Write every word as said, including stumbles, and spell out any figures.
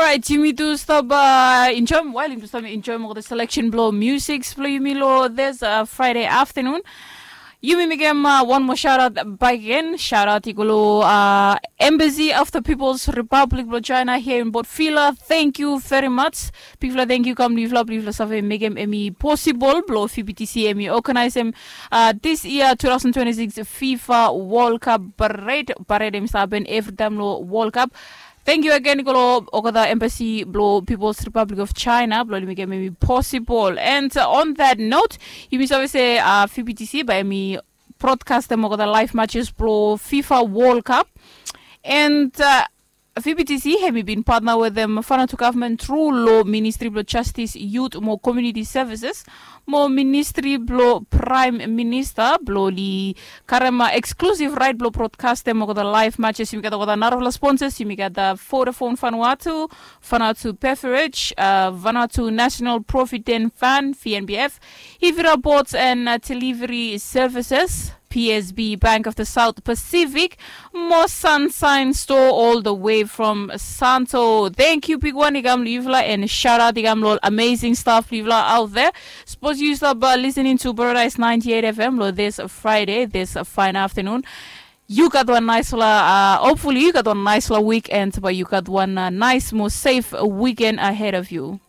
Right, yumi tu stap uh, enjoy while yumi tu stap enjoy mo the selection blow music blow yumi lo this uh, Friday afternoon. Yumi mekem uh, one more shout out back again. Shout out ikolo uh, Embassy of the People's Republic blow China here in Port Vila. Thank you very much. Big fla thank you kam blifla blifla save mekem emi possible blow F B T C emi organize em uh, this year two thousand twenty-six FIFA World Cup parade. Parade em start happen every time lo World Cup. Thank you again ikolo okada embassy blo People's Republic of China blo oli mekem emi possible. And uh, on that note, yumi save se uh, F B T C bae emi broadcast em okada live matches blo FIFA World Cup. And uh, F B T C hemi bin partner wetem Vanuatu government through lo Ministry blo Justice, Youth mo Community Services mo Ministry blo Prime Minister blo oli karem uh, exclusive right blo broadcast em okada live matches. Yumi gat okada narafala sponsors. Yumi gat uh, Vodafone Vanuatu, Vanuatu Beverage, uh, Vanuatu National Provident Fund, V N B F, Hivira Boats and uh, Delivery Services, P S B, Bank of the South Pacific, mo Sunshine Store all the way from Santo. Thank you, big one, i kam lo yufala, and shout out i kam lo amazing staff blifla out there. Suppose you stop uh, listening to Paradise ninety-eight F M lo this Friday, this uh, fine afternoon. You got one nice la, uh, hopefully you got one nice la weekend, but you got one uh, nice, more safe weekend ahead of you.